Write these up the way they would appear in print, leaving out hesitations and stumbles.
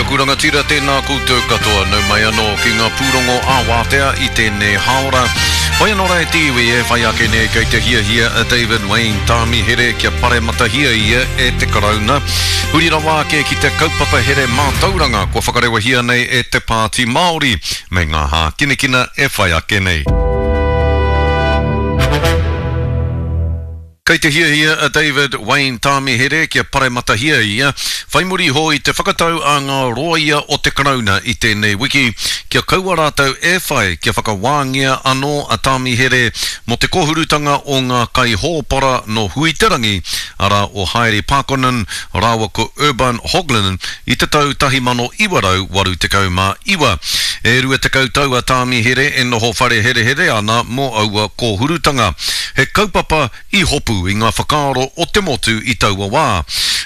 aku rangatira, tēnā koutou katoa, nau mai anō ki ngā pūrongo ā-wātea i tēnei hāora. Whai anō rā e te iwi e whai ake nei kei te hiahia a David Wayne Tāmihere kia parematahia ia e te Karauna. Huri rawa ake ki te kaupapa here mātauranga kua whakarewahia nei e te Pāti Māori me ngā hākinakina e whai ake nei. Kei te hiahia a David Wayne Tāmihere kia parematahia ia, whai muri iho i te whakatau a ngā rōia o te Karauna i tēnei wiki kia kaua rātou e whai kia whakawāngia anō a Tāmihere mō te kōhurutanga o ngā kaihōpara nō Huiterangi, arā o Haere Paakkonen rāua ko Urban Hoglin i te tau 1989. E 20 tau a Tāmihere e noho whare herehere ana mō aua kōhurutanga. He kaupapa i hopu i ngā whakaaro o te motu i taua wā.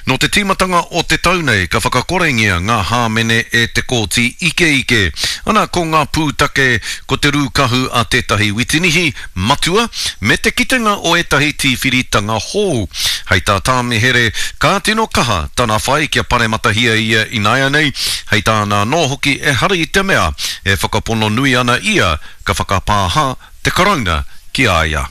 Nō te tīmatanga o te tau nei ka whakakorengia ngā hāmene e te Kōti Ikeike. Ana ko ngā pūtake ko te rūkahu a tētahi witinihi matua me te kitenga o ētahi tīwhiritanga hou. Hei tā Tāmihere, ka tino kaha tana whai kia parematahia ia ināianei, hei tāna anō hoki ehara i te mea e whakapono nui ana ia ka whakapāha te Karauna ki a ia.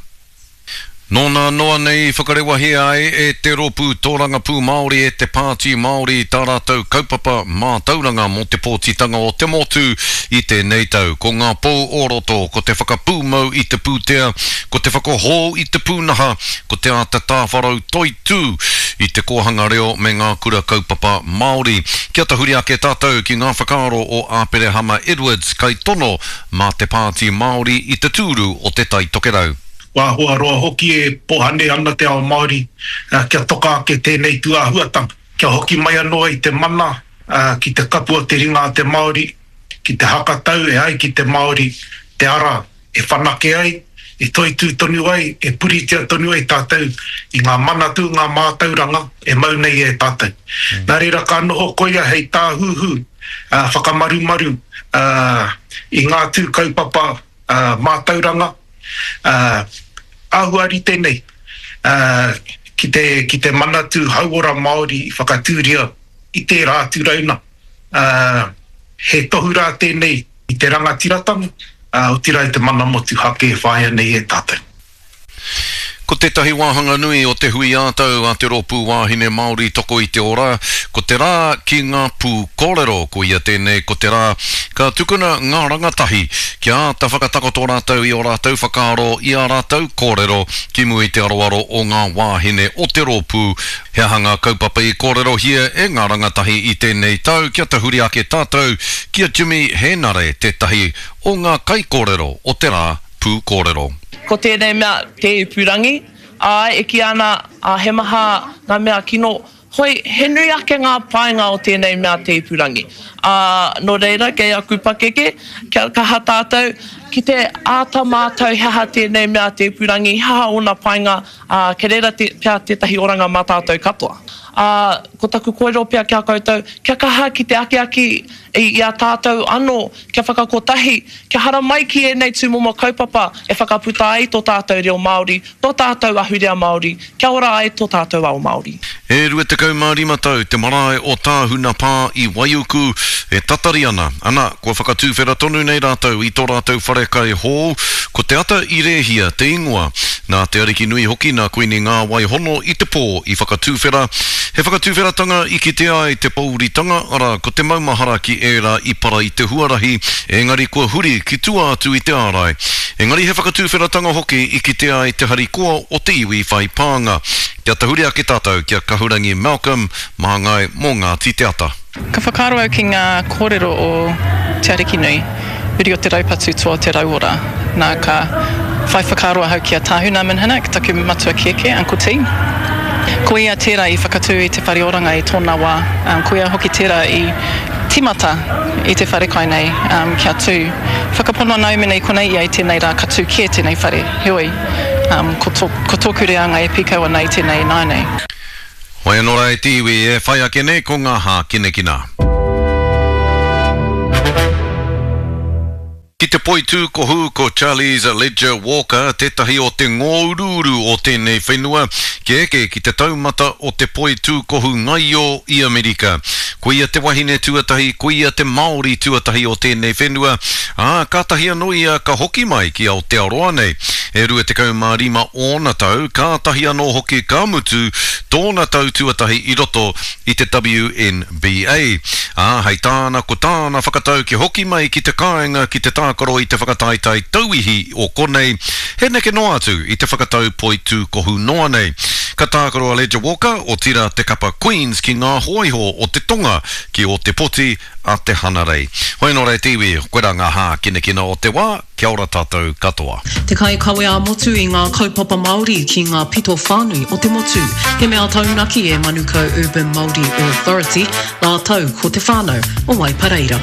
Nō nā noa nei i whakarewahia ai e te Rōpū Tōrangapū Māori e te Pāti Māori tā rātou kaupapa mātauranga mō te pōtitanga o te motu i tēnei tau. Ko ngā pou o roto, ko te whakapūmau i te pūtea, ko te whakahou i te pūnaha, ko te āta tāwharau toitū i te kōhanga reo me ngā kura kaupapa Māori. Kia tahuri ake tātou ki ngā whakaaro o Āperehama Edwards, kaitono mā te Pāti Māori i te tūru o Te Tai Tokerau. Kua āhua roa hoki e pohane ana te ao Māori kia toka ake tēnei tūāhuatanga, kia hoki mai anō ai te mana ki te kapu o te ringa a te Māori, ki te hakatau e ai ki te Māori te ara e whanake ai, e toitū tonu ai, e puritia tonu ai tātou i ngā manatū, ngā mātauranga e mau nei e tātou. Nā reira ka noho koia hei tāhuhu whakamarumaru i ngā tū kaupapa mātauranga āhua rite nei ki te, ki te Manatū Hauora Māori i whakatūria i tērā atu rauna. He tohu rā tēnei i te rangatiratanga, otirā i te mana motuhake e whāia nei e tātou. Ko tētahi wāhanga nui o te hui ā-tau a te Rōpū Wāhine Māori Toko i te Ora, ko te rā ki ngā pū kōrero. Koia tēnei ko te rā ka tukuna ngā rangatahi kia āta whakatakoto rātou i ō rātou whakaaro, i ā rātou kōrero ki mua i te aroaro o ngā wāhine o te rōpū. He aha ngā kaupapa i kōrerohia e ngā rangatahi i tēnei tau kia tahuri ake tātou ki a Jimmy Hēnare tētahi o ngā kaikōrero o te rā pūkōrero. Ko tēnei mea te ipurangi, āe, e kīia ana, ā, he maha ngā mea kino, hoi, he nui ake ngā painga o tēnei mea te ipurangi. Ā, nō reira, kei aku pakeke, kia kaha tātou ki te āta mātau he aha tēnei mea te ipurangi, he aha ōna painga, ā, kei reira te, pea tētahi oranga mā tātou katoa. Ā, ko taku kōrero pea ki a koutou, kia kaha ki te akiaki i a tātou anō, kia whakakotahi, kia haramai ki ēnei tūmomo kaupapa e whakaputa ai tō tātou reo Māori, tō tātou ahurea Māori, kia ora ai tō tātou ao Māori. E 25 tau te marae o Tāhuna Pā i Waiuku e tatari ana, ana, kua whakatūwhera tonu nei rātou i tō rātou wharekai hou, ko Te Ata i Rēhia te ingoa. Nā Te Arikinui hoki nā Kuini Ngāwai Hono i te pō i whakatūwhera. He whakatūwheratanga i kitea ai te pōuritanga, arā, ko te maumahara ki ērā i para i te huarahi, engari kua huri ki tua atu i te ārai. Engari he whakatūwheratanga hoki i kitea ai te harikoa o te iwi whai pānga. Kia tahuri ake tātou ki a Kahurangi Malcolm, māngai mō Ngāti Te Ata. Ka whakaaro au ki ngā kōrero o Te Arikinui, uri o te raupatu toa o te rauora. Nā, ka whai whakaaro ahau ki a Tāhuna Minhinnick, taku matua kēkē, Uncle T. Ko ia tērā i whakatū i te whare oranga i tōna wā. Ko ia hoki tērā i tīmata i te wharekai nei kia tū. Whakapono ana au mēnā i konei ia i tēnei rā ka tū kē tēnei whare. Heoi, ko tōku reanga e pīkau ana i tēnei ināianei. Whai anō rā e te iwi e whai ake nei ko ngā hākinakina. Ki te poitūkohu ko Charlies Ledger Walker tētahi o te ngōuruuru o tēnei whenua kia eke ki te taumata o te poitūkohu ngaio i Amerika. Koia te wahine tuatahi, koia te Māori tuatahi o tēnei whenua, ā, kātahi anō ia ka hoki mai ki Aotearoa nei. E 25 ōna tau, kātahi anō hoki ka mutu tōna tau tuatahi i roto i te WNBA. Ā, hei tāna, ko tāna whakatau kia hoki mai ki te kāinga ki te tākaro i te whakataetae tauihi o konei, he neke noa atu i te whakatau poitūkohu noa nei. Ka tākaro a Ledger Walker, otirā te kapa Queens ki ngā hōiho o te tonga ki Ōtepoti a te Hanarei. Hoi anō rā e te iwi, koirā ngā hākinakina o te wā, kia ora tātou katoa. Te kaikawe ā-motu i ngā kaupapa Māori ki ngā pito whānui o te motu. He mea taunaki e Manukau Urban Māori Authority rātou ko te whānau o Waipareira.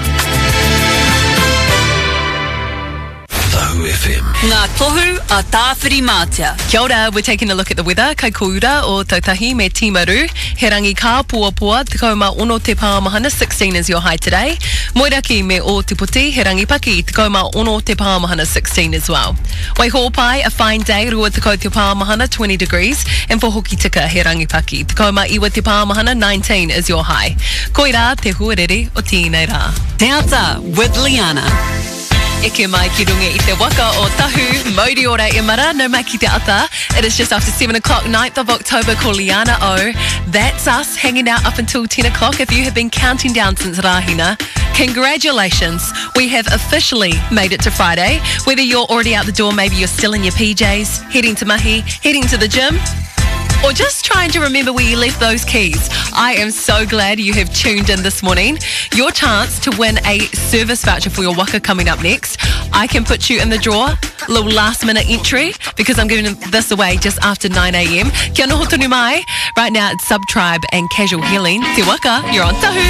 Tahu FM. Ngā tohu a Tāwhirimātea. Kia ora, we're taking a look at the weather Kai Koura o Tautahi me Timaru. He rangi kāpoapoa, 16 te pāmahana, 16 is your high today. Moeraki me Ōtepoti, he rangi paki, 16 te pāmahana, 16 as well. Waihōpai, a fine day, 20 te pāmahana, 20 degrees. And for Hokitika, he rangi paki, 19 te pāmahana, 19 is your high. Koirā te huarere o tēnei rā. Te Ata with Liana. Eke mai ki runga i te waka o Tahu, mauri ora e mara, nau mai ki te ata. It is just after 7 o'clock, 9th of October, ko Liana O. That's us hanging out up until 10 o'clock. If you have been counting down since Rahina, congratulations. We have officially made it to Friday. Whether you're already out the door, maybe you're still in your PJs, heading to mahi, heading to the gym, or just trying to remember where you left those keys. I am so glad you have tuned in this morning. Your chance to win a service voucher for your waka coming up next. I can put you in the draw, little last minute entry, because I'm giving this away just after 9 a.m. Kia noho tonu mai. Right now it's Subtribe and Casual Healing. Te waka, you're on Tahu.